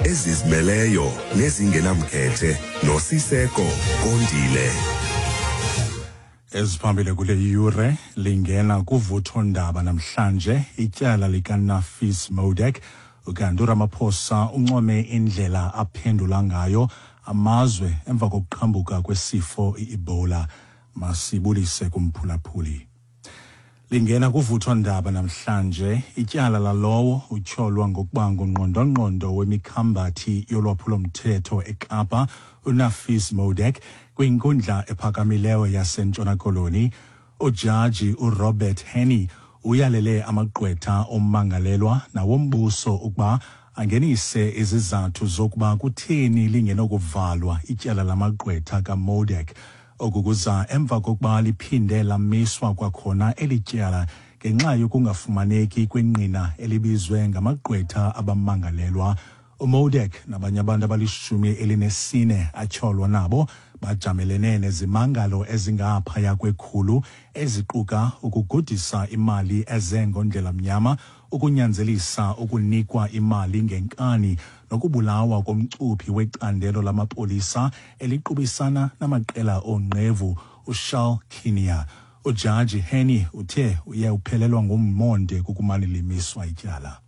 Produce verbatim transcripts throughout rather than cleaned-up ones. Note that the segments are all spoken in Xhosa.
Ezizimeleyo nezingenamkhethe noSiseko Kondile. Eziphambili kule yure, lingena kuvuthondaba namhlanje ityala likaNafees Modack. Ukanti uRamaphosa uncome indlela aphendula ngayo amazwe emva kokuqhambuka kwesifo i-Ebola. Masibulise kumphulaphuli. Lingena kuvuthondaba namhlanje ityala lalowo utyholwa ngokuba ngungqondongqondo wemikhambathi yolwaphulomthetho eKapa, uNafees Modack, kwinkundla ephakamileyo yaseNtshona Koloni. Ujaji uRobert Henney uyalele amagqwetha ommangalelwa nawombuso ukuba angenise izizathu zokuba kutheni lingenokuvalwa ityala lamagqwetha kaModack. Oku kuza emva kokuba liphinde lamiswa kwakhona eli tyala ngenxa yokungafumaneki kwengqina elibizwe ngamagqwetha abamangalelwa. UModack nabanye abantu abalishumi elinesine atyholwa nabo bajamelene nezimangalo ezingaphaya kwekhulu, eziquka ukugudisa imali eze ngondlela mnyama, ukunyanzelisa ukunikwa imali ngenkani, nokubulawa komcuphi wecandelo lamapolisa eliqubisana namaqela oonqevu, uCharl Kinnear. Ujaji Henney uthe uye uphelelwa ngummonde kukumane limiswa ityala.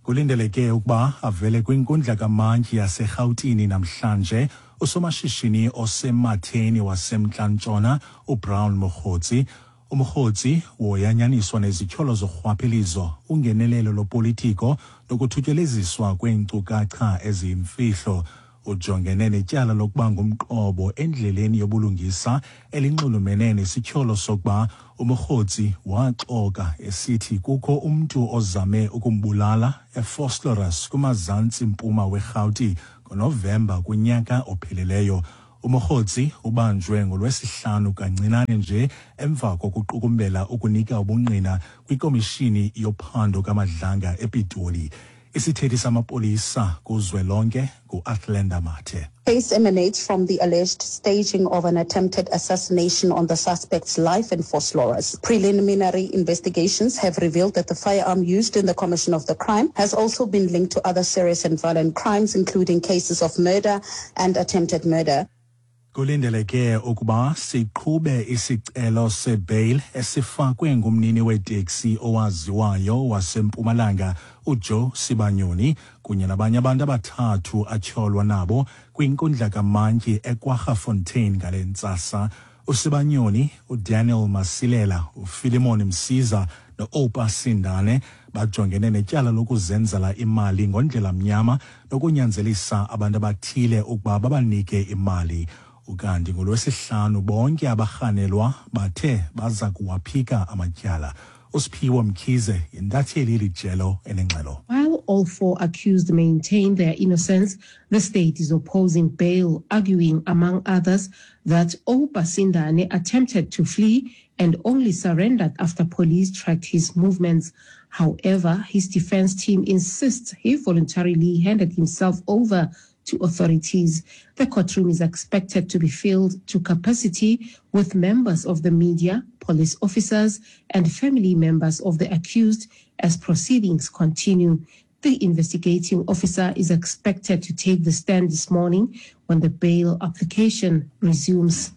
Kulindeleke ukuba avele kwinkundla kamantyi yaseRhawutini namhlanje usomashishini osematheni waseMntla-Ntshona, uBrown Mogotsi. UMogotsi woyanyaniswa nezityholo zorhwaphilizo, ungenelelo lopolitiko nokuthutyeleziswa kweenkcukacha eziyimfihlo. Ujongene netyala lokuba ngumqobo endleleni yobulungisa elinxulumene nesityholo sokuba uMogotsi waxoka esithi kukho umntu ozame ukumbulala eVosloorus kumazantsi mpuma weRhawuti ngoNovemba kunyaka ophelileyo. UMogotsi ubanjwe ngoLwesihlanu kancinane nje emva kokuqukumbela ukunika ubungqina kwikomishini yophando kaMadlanga ePitoli. Isithethi samapolisa kuzwelonke ngu-Athlenda Mathe. Case emanates from the alleged staging of an attempted assassination on the suspect's life in Vosloorus. Preliminary investigations have revealed that the firearm used in the commission of the crime has also been linked to other serious and violent crimes, including cases of murder and attempted murder. Kulindeleke ukuba siqhube isicelo sebail esifakwe ngumnini weteksi owaziwayo waseMpumalanga, uJoe Sibanyoni, kunye nabanye abantu abathathu atyholwa nabo kwinkundla kamantyi eKwaggafontein ngale ntsasa. USibanyoni, uDaniel Masilela, uPhilemon Msiza no-Oupa Sindane bajongene netyala lokuzenzela imali ngondlela mnyama nokunyanzelisa abantu abathile ukuba babanike imali. Ukanti ngolwesihlanu bonke abarhanelwa bathe baza kuwaphika amatyala. USiphiwo Mkhize yintatheli yelijelo enengxelo. While all four accused maintain their innocence, the state is opposing bail, arguing, among others, that Oupa Sindane attempted to flee and only surrendered after police tracked his movements. However, his defense team insists he voluntarily handed himself over to authorities. The courtroom is expected to be filled to capacity with members of the media, police officers, and family members of the accused as proceedings continue. The investigating officer is expected to take the stand this morning when the bail application resumes.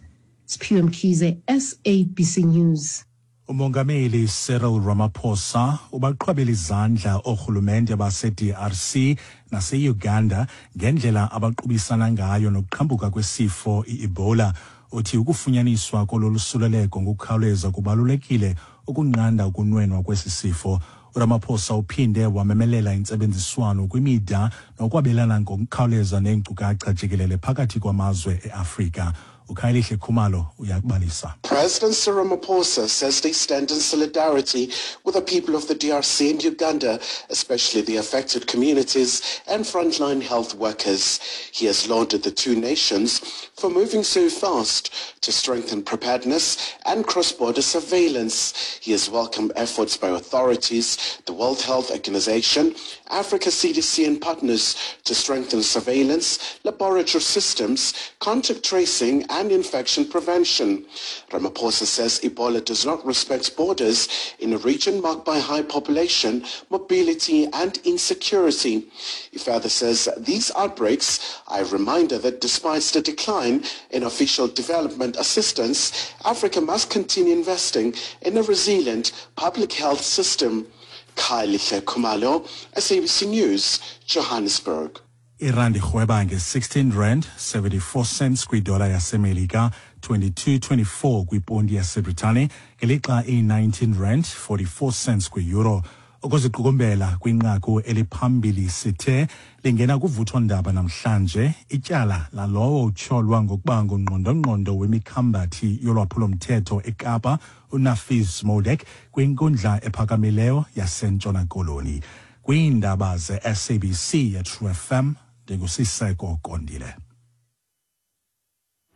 Siphiwe Mkhize, S A B C News. Umongameli Cyril Ramaphosa ubaqhwabela izandla oorhulumente base-D R C nase-Uganda ngendlela abaqubisana ngayo nokuqhambuka kwesifo i-Ebola. Uthi ukufunyaniswa kololu suleleko ngokukhawuleza kubalulekile ukunqanda ukunwenwa kwesi sifo. uRamaphosa uphinde wamemelela intsebenziswano kwimida nokwabelana ngokukhawuleza neenkcukacha jikelele phakathi kwamazwe e-Afrika. uKhayelihle Khumalo uyakubalisa. President Cyril Ramaphosa says they stand in solidarity with the people of the D R C and Uganda, especially the affected communities and frontline health workers. He has lauded the two nations for moving so fast to strengthen preparedness and cross-border surveillance. He has welcomed efforts by authorities, the World Health Organization, Africa C D C and partners to strengthen surveillance, laboratory systems, contact tracing and and infection prevention. Ramaphosa says Ebola does not respect borders in a region marked by high population, mobility and insecurity. He further says these outbreaks are a reminder that despite the decline in official development assistance, Africa must continue investing in a resilient public health system. Khayelihle Khumalo, S A B C News, Johannesburg. Irandi irhweba nge-sixteen rand seventy-four cents kwidola yaseMelika, twenty-two twenty-four kwiponti yaseBritane, ngelixa iyi-nineteen rand forty-four cents kwi-euro. Ukuziqukumbela kwinqaku eliphambili sithe lingena kuvuthondaba namhlanje ityala lalowo utyholwa ngokuba ngungqondongqondo wemikhambathi yolwaphulomthetho eKapa uNafiz Modack kwinkundla ephakamileyo yaseNtshona Koloni. Kwiindaba ze-S A B C yeTrue F M, ndinguSiseko Kondile.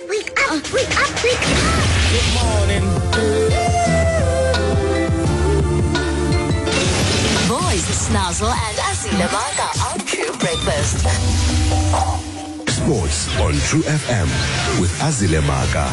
Wake up, wake up, wake up! Good morning. Boys, Snazzle and Azile Maka on True Breakfast. Sports on True F M with Azile Maka.